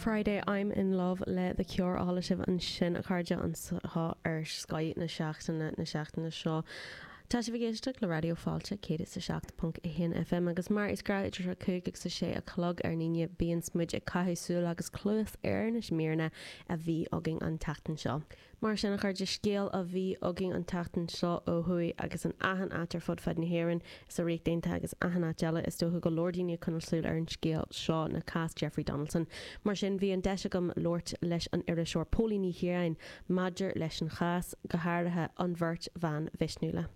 Friday I'm in Love le The Cure a chuala sibh ansin a chairde anseo ar Scoth na Seachtaine na seachtaine seo. Tá sibh ag éisteacht le Raidió Fáilte 107.1 FM agus mar is gnáth idir a 5 agus a 6 a chlog ar an Aoine bíonns muid ag caitheamh súil agus cluas ar na míreanna a bhí againn an tseachtain seo. Mar sin, a chairde, scéal a bhí againn an tseachtain seo ó thuaidh agus in achan áit ar fud fad na hÉireann, sa Ríocht Aontaithe agus achan áit eile, is dócha go leor daoine ag coinneáil súil ar an scéal seo, ná cás Jeffrey Donaldson. Mar sin, bhí an deis agam labhairt leis an iriseoir Póilín Ní Chiaráin maidir leis an chás, go háirithe an bheirt bhan mhisniúla.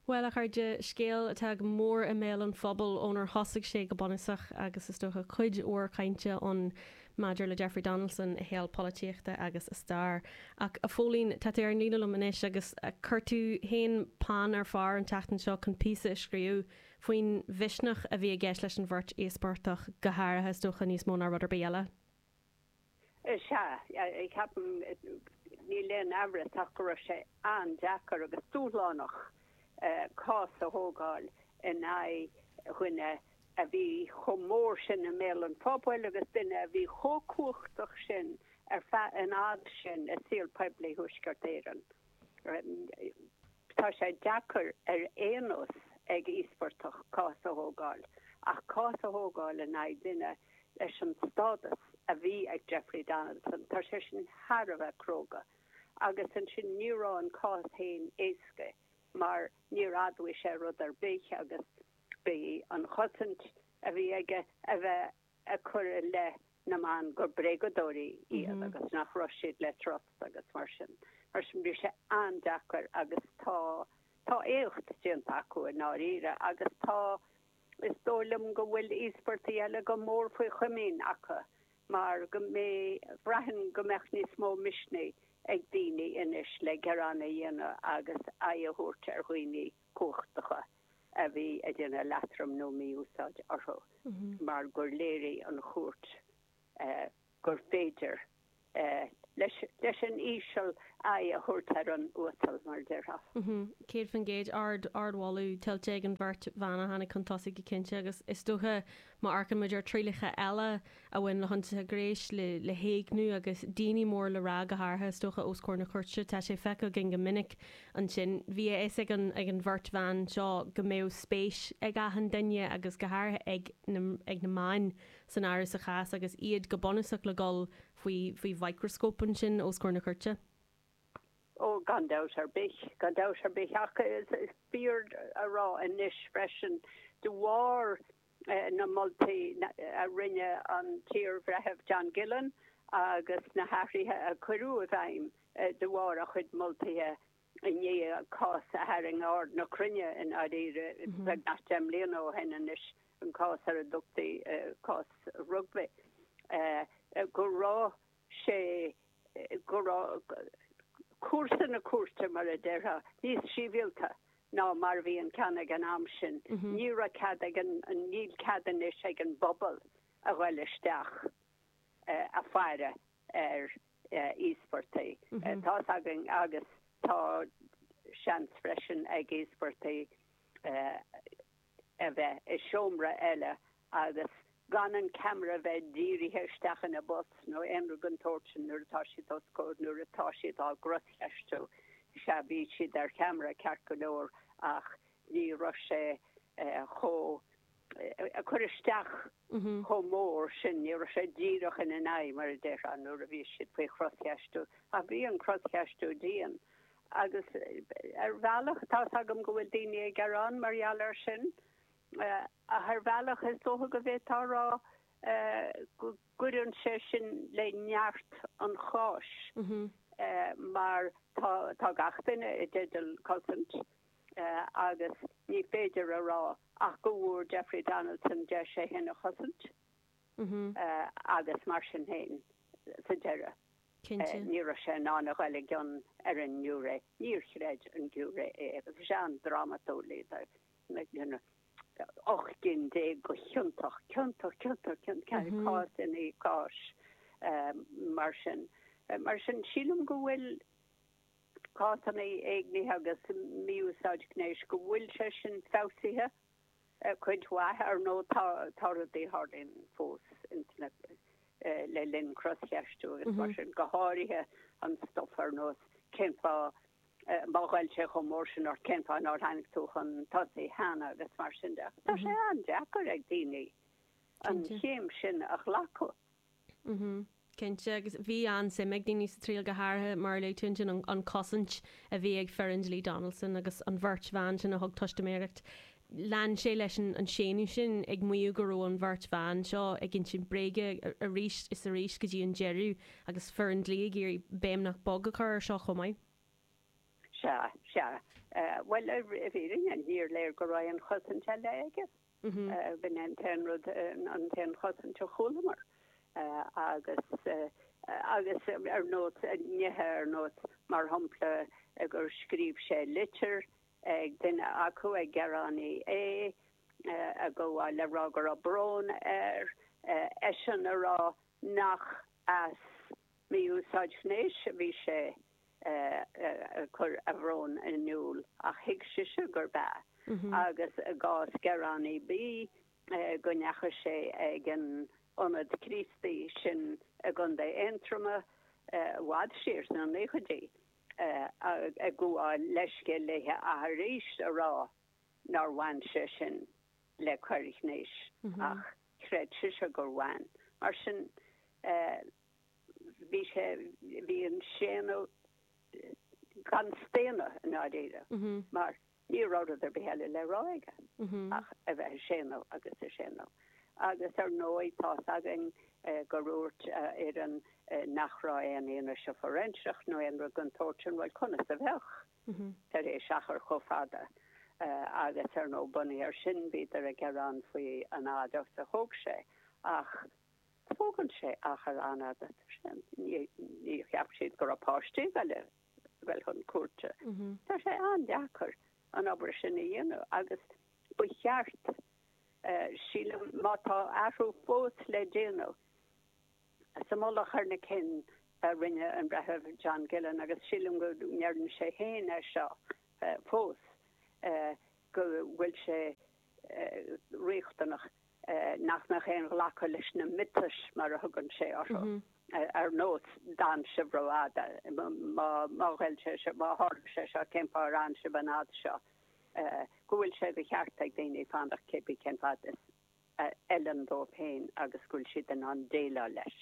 Bhuel, a chairde, scéal atá go mór i mbéal an phobail ónar thosaigh sé go bunúsach agus is dócha cuid mhór cainte ann maidir le Jeffrey Donaldson, a shaol polaitíochta agus a stair. Ach, a Phóilín, tá tú ar an líne liom anois agus chuir tú féin peann ar phár an tseachtain seo chun píosa a scríobh faoin mhisneach a bhí i gceist leis an bheirt íospartach, go háirithe, is dócha, níos mó ná rud ar bith eile. Sea, ceapaim, níl aon amhras ach go raibh sé an-deacair agus dúshlánach cás a thógáil in aghaidh dhuine a bhí chomh mór sin i mbéal an phobail agus duine a bhí chomh cumhachtach sin ar feadh an fhad sin i saol poiblí Thuaisceart Éireann. Tá sé deacair ar aon nós ag íospartach cás a thógáil, ach cás a thógáil in aghaidh duine leis an stádas a bhí ag Jeffrey Donaldson, tá sé sin thar a bheith cróga. Agus ansin ní raibh an cás féin éasca mar níor admhaigh sé rud ar bith agus b'í an chosaint a bhí aige a bheith ag cur i leith na mban gur bréagadóirí iad agus nach raibh siad le trust agus mar sin. Mar sin bhí sé an-deacair agus tá tá éacht déanta acu i ndáiríre agus tá Is dóigh liom go bhfuil íospartaigh eile go mór faoi chomaoin acu mar go mbeidh, bhraithfinn go mbeadh níos mó misnigh ag daoine anois le gearán a dhéanamh agus aghaidh a thabhairt ar dhaoine cumhachtacha a bhí ag déanamh leatrom nó mí-úsáid orthu mar gur léirigh an chúirt gur féidir leis an íseal aghaidh a thabhairt ar an uasal, mar a déarfá. 100%. Ard, ardmholadh tuillte ag an bheirt bhan a tháinig chun tosaigh go cinnte agus is dócha má amharcann muid ar trialacha eile a bhain le hionsaithe gnéis, le, le héigniú agus daoine mór le rá go háirithe is dócha os comhair na cúirte, tá sé feicthe againn go minic ansin. Bhí a fhios ag an, ag an bheirt bhan seo go mbeadh spéis ag achan duine agus go háirithe ag na, ag na meáin san áireamh sa chás agus iad go bunúsach le dhul faoi faoi mhicreascóp ansin os comhair na cúirte. Ó, gan dabht ar bith, gan dabht ar bith. Ach is fíor a rá anois freisin, de bharr na moltaí a rinne an t-iarbhreitheamh John Gillen agus na hathruithe a cuireadh i bhfeidhm de bharr a chuid moltaithe i ndiaidh cás a tharraing aird na cruinne i ndáiríre beagnach 10 mbliana ó shin anois, an cás ar a dtugtaí cás Rugby, go raibh sé, go raibh cúrsa na cúirte, mar a déarfá, níos sibhialta ná mar a bhí an ceann ag an am sin. Ní raibh cead ag an, níl cead anois ag an bpobal a ghoil isteach a faire ar íospartaigh. Tá's againn agus tá seans freisin ag íospartaigh a bheith i seomra eile agus gan an ceamara a bheith dírithe isteach ina bos nó aon rud den tsórt sin nuair atá siad os comhair, nuair atá siad á gcroscheistiú. Sea, bhí siad ar cheamara ceart go leor ach ní raibh sé chomh ag cur isteach chomh mór sin, ní raibh sé díreach ina n-aghaidh, mar a déarfá, nuair a bhí siad faoi chroscheistiú. Ach bhí an croscheistiú dian. Agus ar bhealach, tá's agam go bhfuil daoine ag gearán mar gheall air sin, ach ar bhealach is dócha go bhféadfá a rá go gcuireann sé sin le neart an cháis mar tá gach duine i dteideal cosaint. agus ní féidir a rá ach go bhfuair Jeffrey Donaldson deis é féin a chosaint agus mar sin féin, sa deireadh, ní raibh sé in ann a ghoil i gcion ar an ngiúiré. Níor chreid an giúiré é agus is an-drámatúil iad, 18 gcinn de chiontach, ciontach, ciontach, ciontach, cás i ndiaidh cáis mar sin. Mar sin, sílim go bhfuil. cásanna éignithe agus mí-úsáid gnéis, go bhfuil sé sin feabhsaithe. Cuid mhaith, ar ndóigh, tá tá rudaí a tharlaíonn fós ins na le linn croscheistiú agus mar sin, go háirithe an stuif ar nós cén fáth má ghoill sé chomh mór sin ort, cén fáth nár tháinig tú chun tosaigh cheana agus mar sin de. Tá sé an-deacair ag daoine an chéim sin a ghlacadh. Cinnte, agus bhí an-suim ag daoine sa triail, go háirithe, mar a luaigh tú ansin, an chosaint a bhí ag foireann dlí Donaldson agus an bheirt bhan sin a thug teistiméireacht. Lean sé leis an séanadh sin, ag maíomh go raibh an bheirt bhan seo ag insint bréige arís is arís go dtí an deireadh, agus foireann dlí ag iarraidh béim nach beag a chur air seo chomh maith. Sea, sea. Bhuel, i bhfírinne, níor léir go raibh aon chosaint eile aige. B'in é an t-aon rud, an t-aon chosaint a chualamar. Agus, agus ar nós, nithe ar nós, mar shampla, gur scríobh sé litir ag duine acu, ag gearánaí A, ag gabháil le rá go raibh brón air, eisean a rá nach as mí-úsáid ghnéis a bhí sé ag cur a bhrón in iúl, ach thuig sise gurb ea. Agus i gcás gearánaí B, go ndeachaigh sé ag an ionad Críostaí sin i gContae Aontroma i bhfad siar sna naochaidí, ag gabháil leithscéal léithe ach arís a rá nár bhain sé sin le coir ghnéis ach chreid sise gur bhain. Mar sin, bhí sé, bhí an séanadh gan staonadh i ndáiríre, mar ní raibh rud ar bith eile le rá aige ach a bheith ag séanadh agus ag séanadh. Agus ar ndóigh, tá's againn gur dhúirt a fhoireann nach raibh aon fhianaise fóiréinseach nó aon rud den tsórt sin, bhuel, conas a bheadh tar éis achar chomh fada? Agus ar ndóigh, bunaithe air sin, bhíodar ag gearán faoi an fhad agus a thóg sé. Ach Tógann sé achar an-fhada. Ní cheap siad go raibh páistí ag goil chun cúirte. Tá sé an-deacair an obair sin a dhéanamh agus ba cheart, sílim, má tá athrú fós le déanamh sa mullach ar na cinn a rinne an Breitheamh John Gillen, agus sílim go ndeireann sé féin é seo fós, go bhfuil sé riachtanach nach mbeadh aon ghlacadh leis na miotais, mar a thugann sé orthu, ar nós d'fhan sibh rófhada, má ghoill sé seo, má tharla sé seo, cén fáth ar fhan sibh an fhad seo, go bhfuil sé de cheart ag daoine fanacht cébí cén fad is a fheileann dóibh féin agus go bhfuil siad in ann déileáil leis.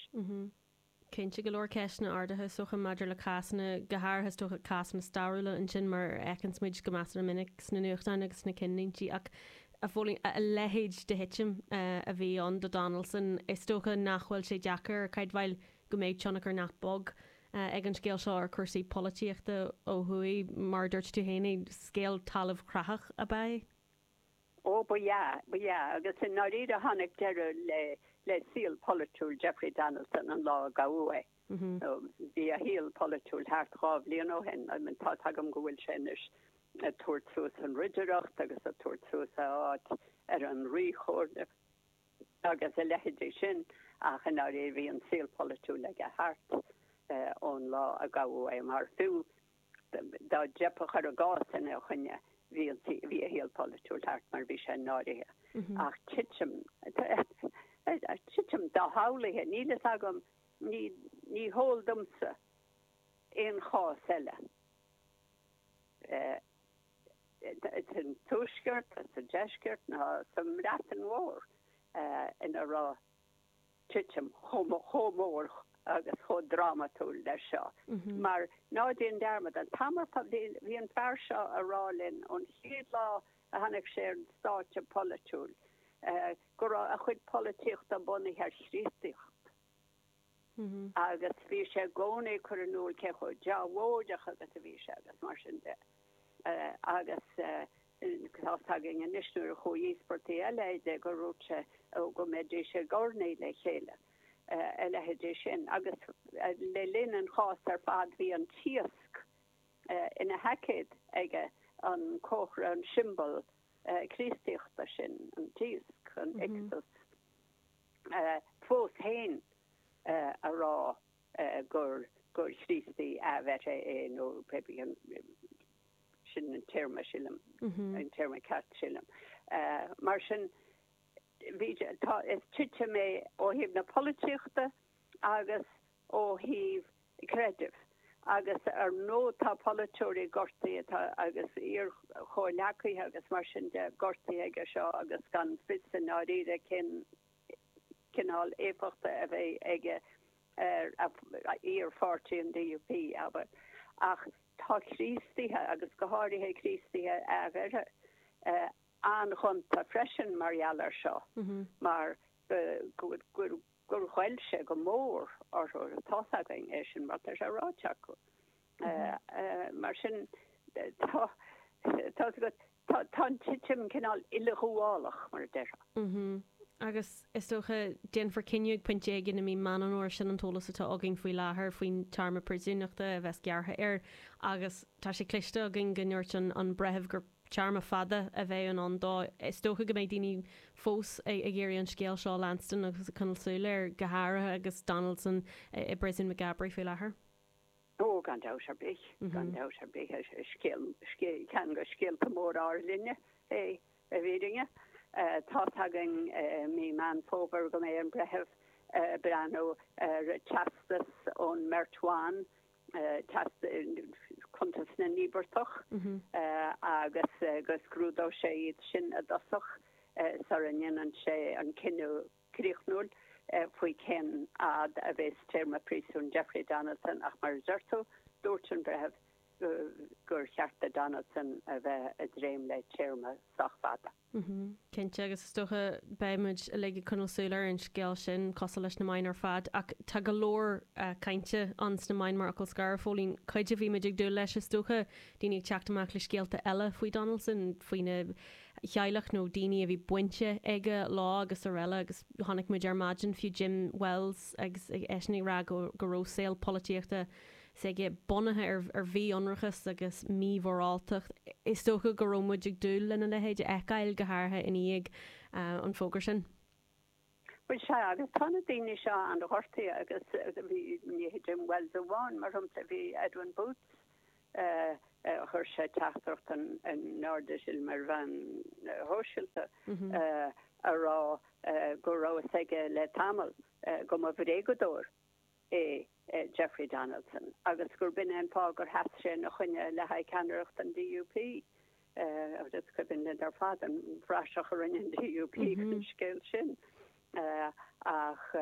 Cinnte, go leor ceisteanna ardaithe is dócha maidir le cásanna, go háirithe is dócha cásanna stairiúla ansin mar a fheiceanns muid go measartha minic sna nuachtáin agus sna cinnlíntí ach a Phóilín, a leithéid de thitim a bhí ann do Donaldson, is dócha nach bhfuil sé deacair a chreidbheáil go mbeidh tionchar nach beag ag an scéal seo ar chúrsaí polaitíochta ó thuaidh. Mar a dúirt tú féin, scéal talamh chreathach ab ea é. Ó, ba ea, ba ea, agus i ndáiríre tháinig deireadh le, le saol polaitiúil Jeffrey Donaldson an lá a gabhadh é. Bhí a shaol polaitiúil thart 2 bhliain ó shin. I mean, tá's agam go bhfuil sé anois ag tabhairt suas an ridireacht agus ag tabhairt suas a áit ar an Ríchomhairle agus a leithéidí sin, ach i ndáiríre bhí an saol polaitiúil aige thart ón lá a gabhadh é, mar fiú Dá dteipfeadh ar an gcás ina choinne, bhí a shaol polaitiúil thart mar bhí sé náirithe. Ach titim, titim doshamhlaithe, níl fhios agam, ní heol domsa aon chás eile sa Tuaisceart, sa Deisceart ná sa mBreatain Mhór ina raibh titim chomh mór agus chomh drámatúil leis seo. Mar, ná déan dearmad, an t-am ar fad, bhí an fear seo a rá linn ón chéad lá a tháinig sé ar an stáitse polaitiúil go raibh a chuid polaitíochta bunaithe ar Chríostaíocht. Agus bhí sé i gcónaí ag cur in iúl cé chomh deabhóideach agus a bhí sé agus mar sin de. Agus tá's againn anois nuair a chuaigh íospartaigh eile de gur dhúirt sé go mbeidís ag urnaí le chéile, a leithéidí sin. Agus le linn an chás ar fad bhí an t-iasc ina sheaicéad aige, an comhartha, an siombail Críostaíochta sin, an t-iasc, an ichthus, fós féin a rá gur gur Chríostaí athbheirthe é nó pé bith an sin an téarma sílim, an téarma ceart sílim. Mar sin, bhí, tá, is titim é ó thaobh na polaitíochta agus ó thaobh creidimh. Agus ar ndóigh tá polaiteoirí gortaithe tá agus iar-chomhghleacaithe agus mar sin de gortaithe aige seo agus gan fios i ndáiríre cén cineál éifeachta a bheidh aige ar a iar-pháirtí an DUP, abair. Ach tá Críostaithe, agus go háirithe Críostaithe athbheirthe, an-ghonta freisin mar gheall air seo, mar go gur ghoill sé go mór orthu, tá's againn é sin mar tá sé ráite acu. Mar sin, tá, tá's agat, tá, tá an titim cineál uileghabhálach, mar a déarfá. Agus is dócha, déanfar cinneadh ag pointe éigin i mí Meán an Fhómhair, sin an t-eolas atá againn faoi láthair faoin téarma príosúnachta a bheas gearrtha air agus tá sé cloiste againn go ndúirt an breitheamh gur téarma fada a bheidh in ann dó. Is dócha go mbeidh daoine fós ag iarraidh an scéal seo a leanstan agus ag coinneáil súil air, go háirithe agus Donaldson i bpríosún Maghaberry faoi láthair. Ó, gan dabht ar bith, gan dabht ar bith, is scéal, ceann de scéalta móra ár linne é, i bhfírinne. Tá's againn i mí Meán Fómhair go mbeidh an breitheamh ag breathnú ar teastas ón mbeirt bhan, cuntas na n-íobartach, agus go scrúdóidh sé iad sin i dtosach sara ndéanann sé an cinneadh críochnúil faoi cén fhad a bheas téarma príosúin Jeffrey Donaldson ach mar a deir tú, dúirt an breitheamh gur cheart do Donaldson a bheith ag dréim le téarma sách fada. Cinnte, agus is dócha beidh muid uilig ag coinneáil súil ar an scéal sin, cosúil leis na meáin ar fad. Ach tá go leor cainte ann sna meáin mar fhocal scoir, a Phóilín. Cuid a bhí muid ag dúil leis, is dócha, daoine ag teacht amach le scéalta eile faoi Donaldson, faoina theaghlach nó daoine a bhí bainte aige leo agus araile agus chonaic muid ar maidin fiú Jim Wells agus eisean ag rá go go raibh saol polaitíochta s'aige bunaithe ar ar mhí-ionracas agus mímhoráltacht. Is dócha go raibh muid ag dúil lena leithéid a fheiceáil go háirithe i ndiaidh an fógra sin. Bhuel sea, agus tá na daoine seo an-ghortaithe agus bhí, ní hé Jim Wells amháin, mar shampla, bhí Edwin Poots, chuir sé teachtaireacht in airde sílim ar mheáin shóisialta a rá go raibh fhios aige le tamall go mba bhréagadóir é Jeffrey Donaldson agus gurb in é an fáth gur sheas sé ina choinne le haghaidh ceannaireacht an DUP. Agus is cuimhin linn ar fad an phraiseach a rinne an DUP den scéal sin. Ach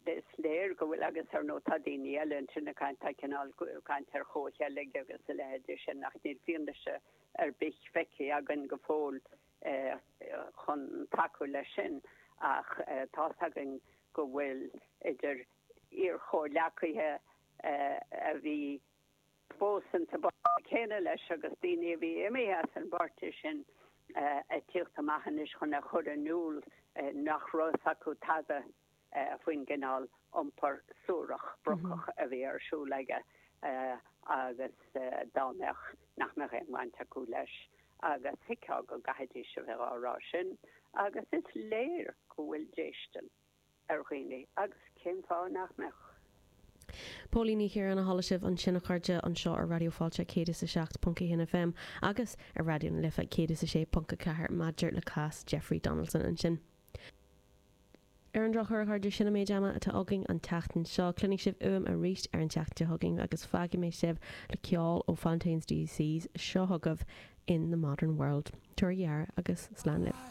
is léir go bhfuil, agus ar ndóigh tá daoine eile ansin ag caint, tá cineál caint ar chomhcheilg agus a leithéidí sin ach níl fianaise ar bith feicthe againn go fóill chun tacú leis sin. Ach tá's againn go bhfuil idir iar-chomhghleacaithe a bhí fós insa bpáirtí céanna leis agus daoine a bhí imithe as an bpáirtí sin ag tíocht amach anois chun a chur in iúl nach raibh fhios acu tada faoin gcineál iompar suarach brocach a bhí ar siúl aige agus dá mbeadh, nach mbeadh aon bhaint acu leis agus thuigfeá go gcaithfidís a bheith á rá sin agus is léir go bhfuil déistin ar dhaoine agus cén fáth nach mbeadh? Póilín Ní Chiaráin a chuala sibh ansin a chairde anseo ar Raidió Fáilte 107.1 FM agus ar Raidió na Life 106.4 maidir le cás Jeffrey Donaldson ansin. Ar an drochuair a chairde sin an méid ama atá againn an tseachtain seo. Cluinfidh sibh uaim arís ar an tseachtain seo chugainn agus fágfaidh mé sibh le ceol ó Fontaines DC's seo chugaibh In the Modern World. Tabhair aire agus slán libh.